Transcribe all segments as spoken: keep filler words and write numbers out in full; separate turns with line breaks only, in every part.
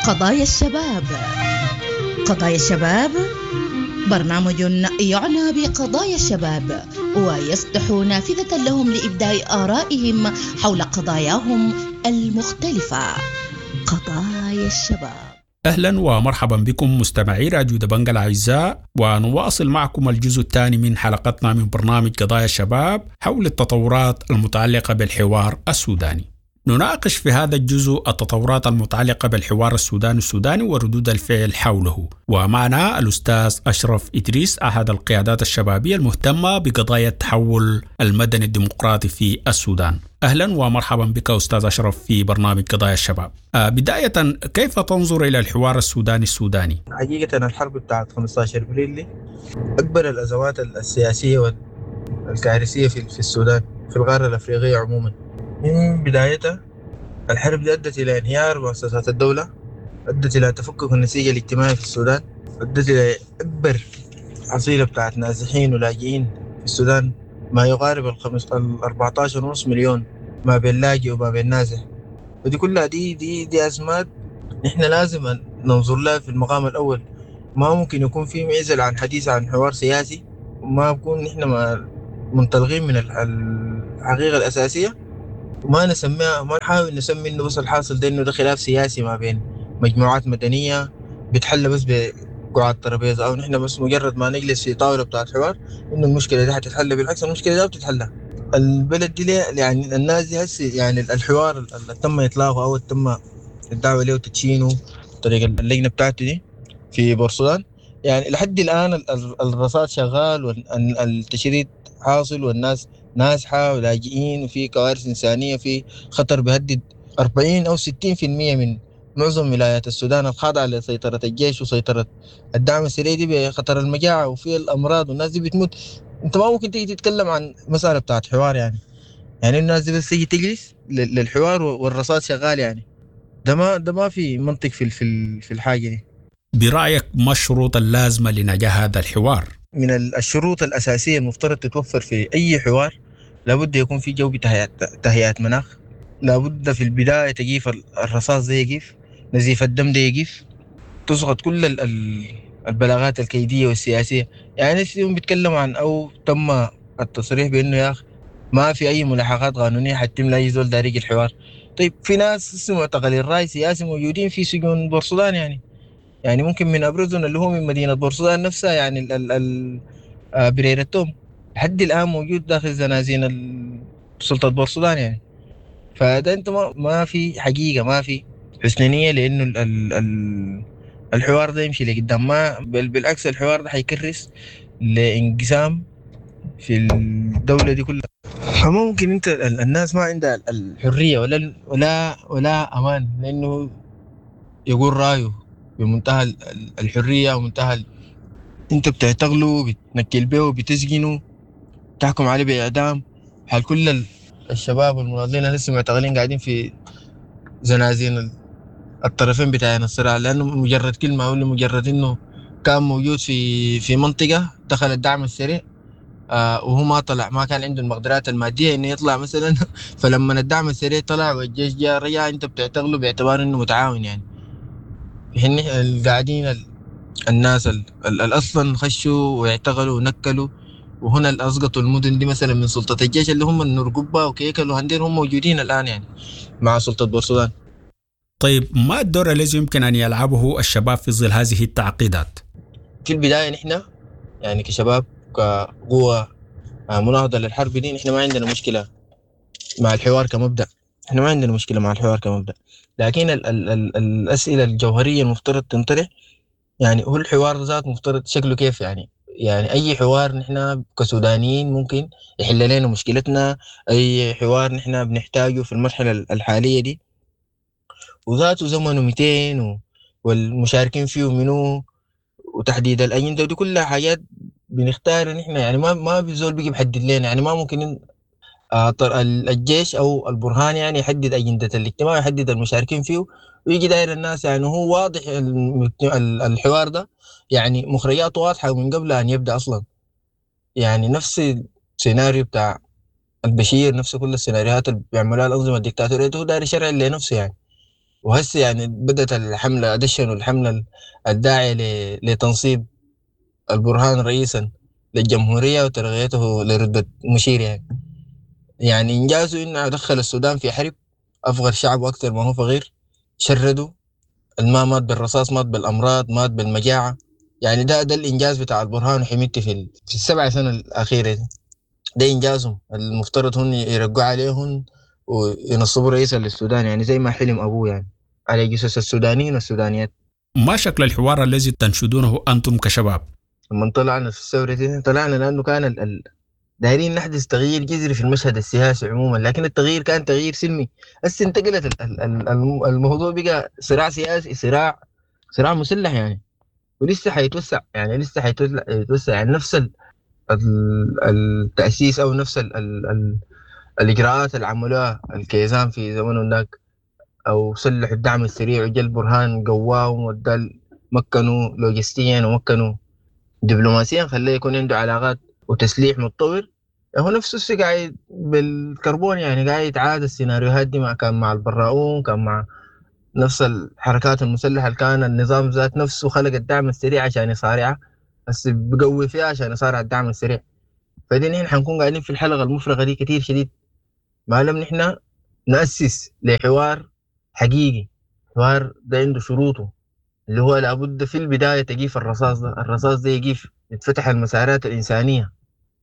قضايا الشباب. قضايا الشباب برنامج يعنى بقضايا الشباب ويفتح نافذة لهم لإبداء آرائهم حول قضاياهم المختلفة. قضايا الشباب.
أهلا ومرحبا بكم مستمعي راديو دبنجا الأعزاء، ونواصل معكم الجزء الثاني من حلقتنا من برنامج قضايا الشباب حول التطورات المتعلقة بالحوار السوداني. نناقش في هذا الجزء التطورات المتعلقة بالحوار السوداني السوداني وردود الفعل حوله، ومعنا الأستاذ أشرف إدريس أحد القيادات الشبابية المهتمة بقضايا التحول المدني الديمقراطي في السودان. أهلا ومرحبا بك أستاذ أشرف في برنامج قضايا الشباب. بداية، كيف تنظر إلى الحوار السوداني السوداني؟
حقيقة الحرب بتاعت خمستاشر ابريل دي أكبر الأزمات السياسية والكارثية في السودان، في القارة الأفريقية عموما. من بدايتها الحرب دي أدت إلى انهيار مؤسسات الدولة، أدت إلى تفكك النسيج الاجتماعي في السودان، أدت إلى أكبر حصيلة بتاعت نازحين ولاجئين في السودان، ما يقارب الخمس الأربعتاشر ونص مليون ما بين لاجئ وما بين نازح. ودي كلها دي دي دي أزمات نحن لازم ننظر لها في المقام الأول. ما ممكن يكون في معزل عن حديث عن حوار سياسي، وما بكون نحن ما منطلقين من الحقيقة الأساسية، وما نسميها، ما نحاول نسمي إنه بس الحاصل ده إنه ده خلاف سياسي ما بين مجموعات مدنية بتحل بس بقعاد ترابيزة، أو نحن بس مجرد ما نجلس في طاولة بتاعت حوار إنه المشكلة دي حتتحل. بالعكس المشكلة دي بتتحل. البلد دي ليه يعني الناس دي هسه يعني الحوار اللي تم إطلاقه أو تم الدعوة له وتدشينه طريق اللجنة بتاعته دي في بورسودان، يعني لحد الآن الرصاد شغال والتشريد حاصل والناس نازحة ولاجئين، وفي كوارث إنسانية، في خطر بيهدد أربعين أو ستين في المية من معظم ولايات السودان الخاضعة لسيطرة الجيش وسيطرة الدعم السريع دي بخطر المجاعة وفي الأمراض، والناس دي بتموت. أنت ما ممكن تيجي تتكلم عن مسألة بتاعت حوار يعني يعني الناس دي بس تيجي تجلس للحوار والرصاد شغال، يعني ده ما ده ما في منطق في في في الحاجة دي.
برأيك ما الشروط اللازمة لنجاح هذا الحوار؟
من الشروط الأساسية المفترض تتوفر في أي حوار، لابد يكون في جو تهيئة مناخ، لابد في البداية تجيف الرصاص ده يجيف، نزيف الدم ده يجيف، تسقط كل البلاغات الكيدية والسياسية. يعني اليوم بيتكلموا عن أو تم التصريح بأنه يا أخي ما في أي ملاحقات قانونية حتم لا يزول دارج الحوار. طيب في ناس معتقلين الرأي سياسي موجودين في سجون بورسودان، يعني يعني ممكن من أبرزهم اللي هو من مدينة بورسودان نفسها، يعني ال ال برير التوم لحد الآن موجود داخل زنازين سلطة بورسودان يعني. فده أنت ما, ما في حقيقة، ما في حسن نية لأنه ال ال ال الحوار ده يمشي لقدام. ما بل بالعكس الحوار ده حيكرس لانقسام في الدولة دي كلها. فممكن أنت الناس ما عندها الحرية ولا ولا ولا أمان لأنه يقول رأيه بمنتهى الحرية ومنتهى ال... انت بتعتقله، بتنكل به، بتسجنه، تحكم عليه بإعدام. حال كل الشباب والمناضلين لسه معتقلين قاعدين في زنازين الطرفين بتاعين الصراع، لأنه مجرد كلمة أو مجرد إنه كان موجود في في منطقة دخل الدعم السريع آه وهو ما طلع، ما كان عنده المقدرات المادية إنه يطلع مثلا فلما الدعم السريع طلع والجيش جاء رجع، انت بتعتقله باعتبار إنه متعاون يعني. حين القاعدين الناس الاصلا خشوا واعتقلوا ونكلوا، وهنا اللي اسقطوا المدن دي مثلا من سلطه الجيش اللي هم النرقبه وكيكل وهندير، هم موجودين الان يعني مع سلطه بورسودان.
طيب ما الدور الذي يمكن ان يلعبه الشباب في ظل هذه التعقيدات؟
في البدايه نحن يعني كشباب كقوه مناهضه للحرب دي، نحن ما عندنا مشكله مع الحوار كمبدا، احنا ما عندنا مشكله مع الحوار كمبدا، لكن ال ال ال الاسئله الجوهريه المفترض تنطرح، يعني هو الحوار ذات مفترض شكله كيف؟ يعني يعني اي حوار نحن كسودانيين ممكن يحل لنا مشكلتنا، اي حوار نحن بنحتاجه في المرحله الحاليه دي، وذاته زمنه مئتين و... والمشاركين فيه منو، وتحديد الاجنده، ودي كلها حاجات بنختار نحن يعني. ما ما بزول بيجي بيحدد لنا يعني، ما ممكن الجيش او البرهان يعني يحدد اجنده الاجتماع ويحدد المشاركين فيه ويجي داير الناس. يعني هو واضح الحوار ده يعني مخرجاته واضحه من قبل ان يبدا اصلا، يعني نفس السيناريو بتاع البشير، نفس كل السيناريوهات اللي بيعملوها الانظمه الدكتاتوريه، هو داير يشرع لنفسه يعني. وهسه يعني بدأت الحملة، دشنوا الحملة الداعية لتنصيب البرهان رئيسا للجمهورية وترقيته لرتبة مشير. يعني يعني إنجازه إنه دخل السودان في حرب، أفقر شعبه أكثر ما هو فقير، شردوا، الما مات بالرصاص مات بالأمراض مات بالمجاعة. يعني ده ده الإنجاز بتاع البرهان وحميدتي في في السبع سنة الأخيرة دي. ده إنجازهم المفترض هم يرقوا عليهم وينصبوا رئيسا للسودان، يعني زي ما حلم أبوه يعني على جثث السودانيين والسودانيات.
ما شكل الحوار الذي تنشدونه أنتم كشباب؟
لما طلعنا في الثورة دي طلعنا لأنه كان ال ال دايرين نحدث تغيير جذري في المشهد السياسي عموما، لكن التغيير كان تغيير سلمي. هسه انتقلت الموضوع بقى صراع سياسي، صراع صراع مسلح يعني، ولسه حيتوسع يعني، لسه حيتوسع يعني نفس ال التأسيس أو نفس ال ال ال الإجراءات اللي عملوها الكيزان في زمن هناك، أو سلحوا الدعم السريع وجا البرهان قواهم ودى مكنوا لوجستيا ومكنوا دبلوماسيا، خليه يكون عنده علاقات وتسليح متطور. هو نفسه الشيء قاعد بالكربون يعني، قاعد يتعاد السيناريوهات دي مع كان مع البراؤون، كان مع نفس الحركات المسلحة اللي كان النظام ذات نفسه خلق الدعم السريع عشان يصارعها، بس بقوي فيها عشان يصارع الدعم السريع. فدي نحن حنكون قاعدين في الحلقة المفرغة دي كتير شديد، ما لم نحن نأسس لحوار حقيقي، حوار ده عنده شروطه اللي هو لابد في البداية تجيف الرصاص ده، الرصاص ده يجيف، يتفتح المسارات الإنسانية.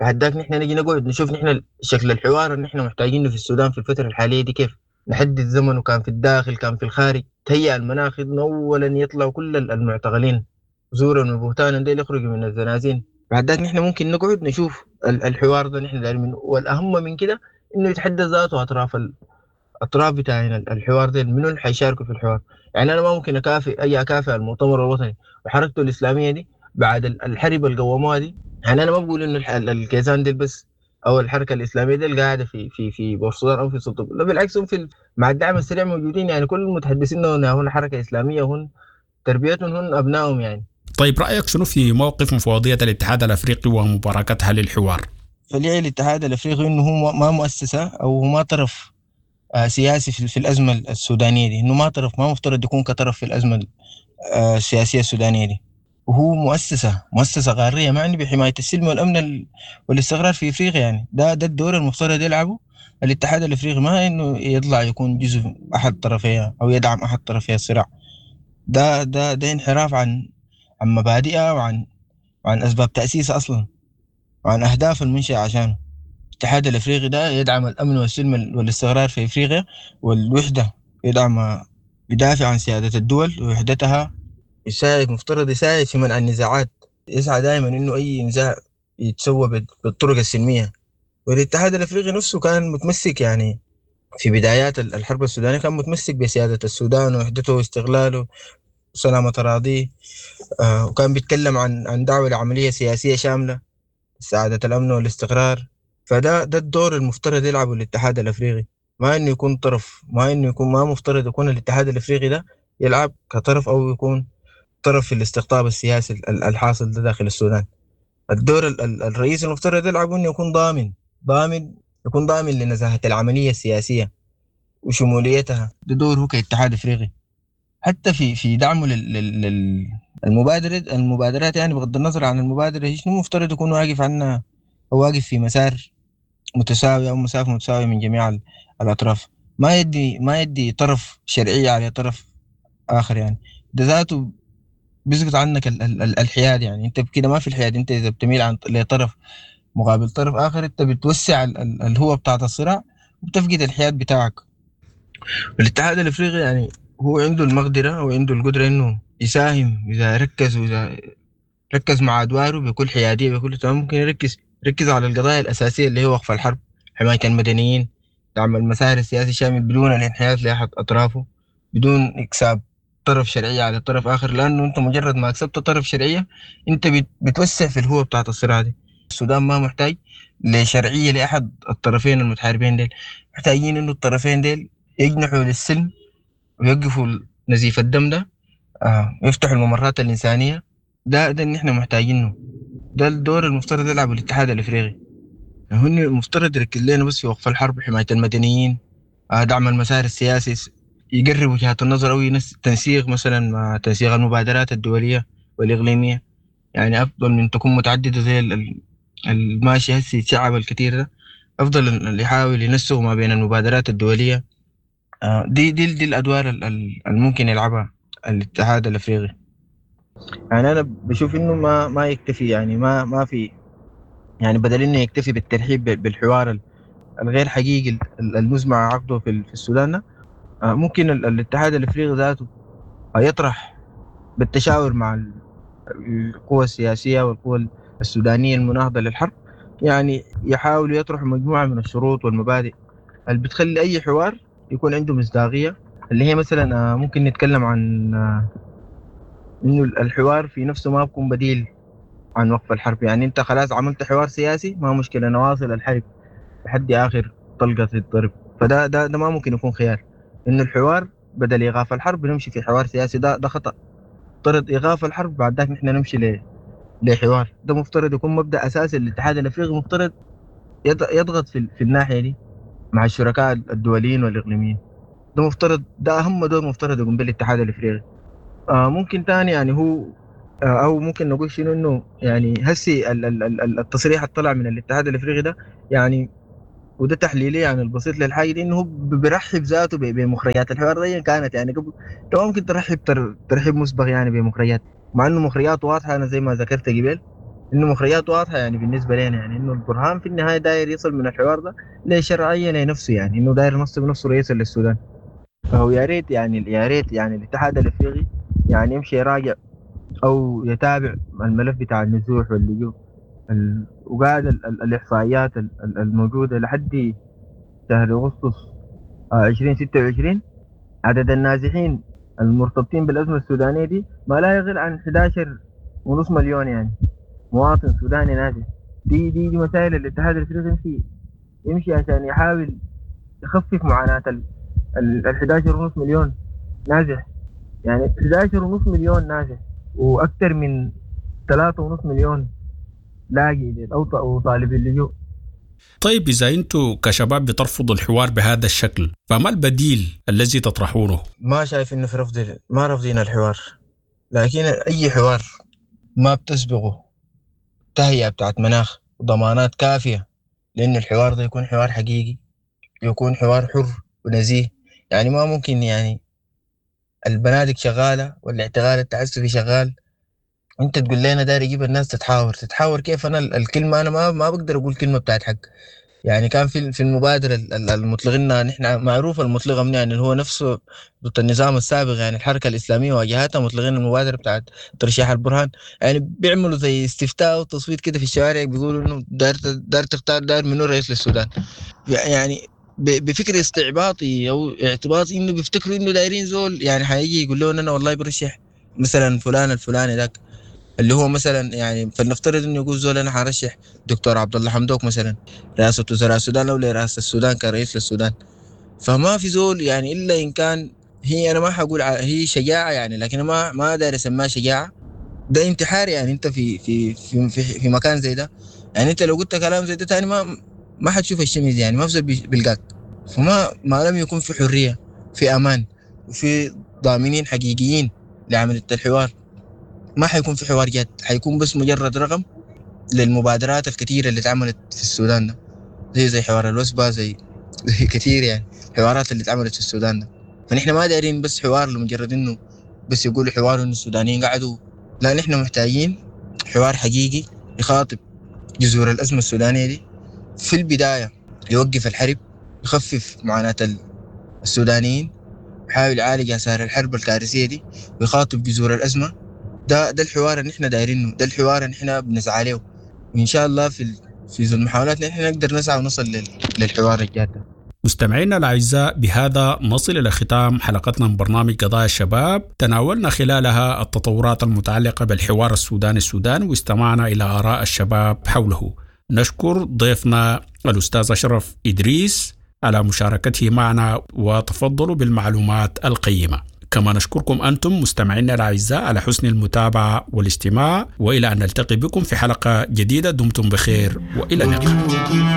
بعد نحن نجي نقعد نشوف نحن شكل الحوار اللي نحن محتاجينه في السودان في الفترة الحالية دي كيف، نحدد زمنه، كان في الداخل كان في الخارج، تهيأ المناخ إنه أولا يطلعوا كل المعتقلين زورا وبهتانا ديل يخرجوا من الزنازين. بعد ذاك نحن ممكن نقعد نشوف الحوار ده نحن دايرين منه. والأهم من كده إنه يتحدد ذاته أطراف الأطراف بتاعنا الحوار ده، منو اللي حيشاركوا في الحوار. يعني أنا ما ممكن أكافئ أي أكافئ المؤتمر الوطني وحركته الإسلامية دي بعد الحرب القوامة دي. يعني أنا ما بقول إنه الكيزان دي بس أو الحركة الإسلامية دي اللي قاعدة في في في بورسودان أو في سلطة، لا بالعكس، هم في مع الدعم السريع موجودين يعني، كل المتحدثين هنا حركة إسلامية، هن تربيتهم هن أبنائهم يعني.
طيب رأيك شنو في موقف مفوضية الاتحاد الأفريقي ومباركتها للحوار؟
فليه الاتحاد الأفريقي إنه هو ما مؤسسة أو ما طرف سياسي في الأزمة السودانية دي، إنه ما طرف، ما مفترض يكون كطرف في الأزمة السياسية السودانية دي. وهو مؤسسة مؤسسة قارية معني بحماية السلم والأمن والاستقرار في أفريقيا يعني. ده ده الدور المفترض يلعبه الاتحاد الأفريقي، ما إنه يطلع يكون جزء أحد طرفيها أو يدعم أحد طرفي الصراع. ده ده ده انحراف عن عن مبادئها وعن وعن أسباب تأسيسها أصلا وعن أهداف المنشأ عشانه. الاتحاد الأفريقي ده يدعم الأمن والسلم والاستقرار في أفريقيا والوحدة، يدعم يدافع عن سيادة الدول ووحدتها، يساعد مفترض يساعد في منع النزاعات، يسعى دائما إنه أي نزاع يتسوى بالطرق السلمية. والاتحاد الأفريقي نفسه كان متمسك يعني في بدايات الحرب السودانية، كان متمسك بسيادة السودان ووحدته واستقلاله وسلامة أراضيه، آه وكان بيتكلم عن عن دعوة لعملية سياسية شاملة سعادة الأمن والاستقرار. فده ده الدور المفترض يلعبه الاتحاد الأفريقي، ما إنه يكون طرف، ما إنه يكون، ما مفترض يكون الاتحاد الأفريقي ده يلعب كطرف أو يكون طرف في الاستقطاب السياسي الحاصل ده داخل السودان. الدور الرئيسي المفترض يلعبه إنه يكون ضامن ضامن يكون ضامن لنزاهة العملية السياسية وشموليتها. ده دوره كاتحاد أفريقي، حتى في في دعمه للمبادرة المبادرات يعني، بغض النظر عن المبادرة شنو مفترض يكون واقف عنها أو واقف في مسار متساوي أو مسافة متساوية من جميع الأطراف، ما يدي ما يدي طرف شرعية على طرف آخر يعني. ده ذاته بيسقط عنك ال ال الحياد يعني، أنت بكده ما في الحياد، أنت إذا بتميل عن لطرف مقابل طرف آخر أنت بتوسع الهوة بتاعت الصراع وبتفقد الحياد بتاعك. الاتحاد الأفريقي يعني هو عنده المقدرة وعنده القدرة إنه يساهم إذا ركز، وإذا ركز مع أدواره بكل حيادية بكل تمام، ممكن يركز يركز على القضايا الأساسية اللي هي وقف الحرب، حماية المدنيين، دعم المسار السياسي الشامل بدون الانحياز لأحد أطرافه، بدون إكساب طرف شرعية على طرف آخر، لأنه أنت مجرد ما أكسبت طرف شرعية أنت بتوسع في الهوة بتاعت الصراع دي. السودان ما محتاج لشرعية لأحد الطرفين المتحاربين ديل، محتاجين إنه الطرفين ديل يجنحوا للسلم ويوقفوا نزيف الدم ده، آه، ويفتحوا الممرات الإنسانية. ده ده اللي إحنا محتاجينه، ده الدور المفترض يلعبه الاتحاد الأفريقي. هن المفترض يركز لنا بس في وقف الحرب، حماية المدنيين، آه، دعم المسار السياسي يقرب وجهات النظر أو تنسيق مثلا مع تنسيق المبادرات الدولية والإقليمية، يعني أفضل من تكون متعددة زي الماشي هسي الشعب الكثير ده، أفضل اللي يحاول ينسق ما بين المبادرات الدولية. دي دي دي الأدوار الممكن يلعبها الاتحاد الأفريقي. يعني أنا بشوف إنه ما ما يكتفي، يعني ما ما في، يعني بدل إنه يكتفي بالترحيب بالحوار الغير حقيقي المزمع عقده في السودان، ممكن الاتحاد الأفريقي ذاته يطرح بالتشاور مع القوى السياسية والقوى السودانية المناهضة للحرب، يعني يحاول يطرح مجموعة من الشروط والمبادئ اللي بتخلي أي حوار يكون عنده مصداقية، اللي هي مثلا ممكن نتكلم عن إنه الحوار في نفسه ما بيكون بديل عن وقف الحرب. يعني أنت خلاص عملت حوار سياسي، ما مشكلة نواصل الحرب لحد آخر طلقة الضرب، فده ده ده ما ممكن يكون خيار. إنه الحوار بدل إيقاف الحرب نمشي في حوار سياسي، ده ده خطأ. افترض إيقاف الحرب بعد ذاك نحن نمشي ل لحوار، ده مفترض يكون مبدأ أساسي للاتحاد الأفريقي، مفترض يضغط في في الناحية دي مع الشركاء الدوليين والإقليميين. ده مفترض، ده أهم دور مفترض يقوم به الاتحاد الأفريقي. آه ممكن تاني يعني هو آه أو ممكن نقول شنو إنه يعني هسي التصريح اللي طلع من الاتحاد الأفريقي ده، يعني وده تحليلي يعني البسيط للحاجة دي، إنه هو بيرحب ذاته بمخرجات الحوار دي كانت يعني قبل، ممكن ترحب ترحيب مسبق يعني بمخرجات، مع إنه مخرجات واضحة. أنا زي ما ذكرت قبل إنه مخرجات واضحة يعني بالنسبة لنا، يعني إنه البرهان في النهاية داير يصل من الحوار ده لشرعية لنفسه، يعني إنه داير ينصب نفسه رئيسا للسودان. فهو يا ريت يعني يا ريت يعني الاتحاد الأفريقي يعني يمشي يراجع أو يتابع الملف بتاع النزوح واللجوء وقاعد الإحصائيات الموجودة لحد شهر أغسطس عشرين ستة وعشرين، عدد النازحين المرتبطين بالأزمة السودانية دي ما لا يقل عن إحدى عشر ونص مليون يعني مواطن سوداني نازح. دي دي, دي مسائل الاتحاد الافريقي يمشي يمشي عشان يحاول يخفف معاناة ال إحدى عشر ونص مليون نازح. يعني إحدى عشر ونص مليون نازح وأكثر من ثلاثة ونص مليون لاجئ أو طالب اللجوء.
طيب إذا أنتم كشباب بترفضوا الحوار بهذا الشكل، فما البديل الذي تطرحونه؟
ما شايف إنه في رفض، ما رفضين الحوار، لكن أي حوار ما بتسبقه تهيئة بتاعت مناخ وضمانات كافية لأن الحوار ده يكون حوار حقيقي، يكون حوار حر ونزيه. يعني ما ممكن يعني البنادق شغالة والاعتقال التعسفي شغال، انت تقول لنا داير اجيب الناس تتحاور. تتحاور كيف؟ انا الكلمة انا ما ما بقدر اقول كلمة بتاعت حق. يعني كان في في المبادرة المطلقين نحن معروف المطلقة من يعني هو نفسه ضد النظام السابق، يعني الحركة الاسلامية واجهتها مطلقين المبادرة بتاعت ترشيح البرهان. يعني بيعملوا زي استفتاء وتصويت كده في الشوارع، بيقولوا انه داير داير تختار داير منو رئيس للسودان. يعني بفكر استعباطي او اعتباطي انه بيفتكروا انه دايرين زول يعني حيجي يقول لهم انا والله برشح مثلا فلان الفلاني ذاك اللي هو مثلا، يعني فلنفترض انه يقول زول انا حرشح دكتور عبد الله حمدوك مثلا رئاسة وزراء السودان او لرئاسة السودان كرئيس للسودان. فما في زول يعني الا ان كان هي، انا ما حقول هي شجاعة يعني، لكن ما ما داير اسميها شجاعة، ده انتحار. يعني انت في في في في, في مكان زي ده، يعني انت لو قلت كلام زي ده تاني ما ما حتشوف الشمس، يعني ما في زول بيلقاك. فما ما لم يكون في حرية، في امان، وفي ضامنين حقيقيين لعملية الحوار، ما حيكون في حوار جاد، حيكون بس مجرد رقم للمبادرات الكثيرة اللي اتعملت في السودان ده. زي زي حوار الوسبة، زي زي كثير يعني حوارات اللي اتعملت في السودان ده. فنحن ما دايرين بس حوار لمجرد انه بس يقولوا حوار انه السودانيين قعدوا، لا، نحن محتاجين حوار حقيقي يخاطب جذور الأزمة السودانية دي في البداية، يوقف الحرب، يخفف معاناة السودانيين، يحاول يعالج آثار الحرب الكارثية دي، ويخاطب جذور الأزمة. ده ده الحوار اللي احنا دايرينه، ده الحوار اللي احنا بنسعى له، وان شاء الله في في المحاولات نحن نقدر نسعى ونصل للحوار الجاد.
مستمعينا الاعزاء، بهذا نصل الى ختام حلقتنا من برنامج قضايا الشباب، تناولنا خلالها التطورات المتعلقة بالحوار السوداني السوداني واستمعنا الى اراء الشباب حوله. نشكر ضيفنا الاستاذ اشرف ادريس على مشاركته معنا وتفضلوا بالمعلومات القيمة. كما نشكركم أنتم مستمعينا الأعزاء على حسن المتابعة والاستماع، وإلى أن نلتقي بكم في حلقة جديدة، دمتم بخير وإلى اللقاء.